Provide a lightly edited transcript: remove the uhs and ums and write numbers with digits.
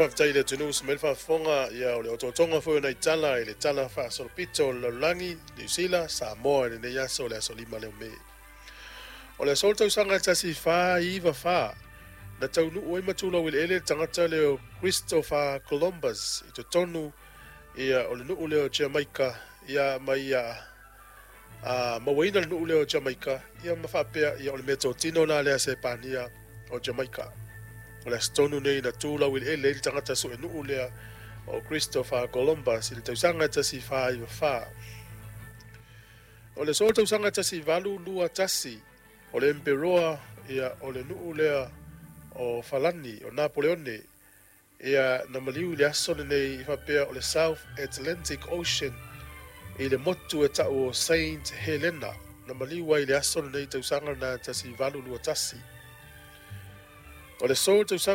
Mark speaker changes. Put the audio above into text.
Speaker 1: Faafetai i le atunuu sa mai le faafofoga, ia o le otootoga foi o nai tala i le tala faasolopito o le lalolagi, Niu Sila, Samoa i lenei aso, le aso 5 lea o Me. O le aso le tausaga e 1494 na taunuu ai ma tulau eleele le tagata lea o Christopher Columbus i totonu ia o le nuu lea o Jamaica, ia ma ia mauaina le nuu lea o Jamaica, ia ma faapea ia o le meatotino la lea a Sepania o Jamaica. O le aso tonu nei na tu laueleele ai le tagata suenuu lea o Christopher Columbus i le tausaga e 1494. O le aso tausaga e 1821, o le emperoa ia o le nuu lea o Falani o Napoleone, ia na maliu i le aso lenei i faapea o le South Atlantic Ocean i le motu e tau o Saint Helena, na maliu ai i le aso lenei tausaga na 1821. O le aso tausaga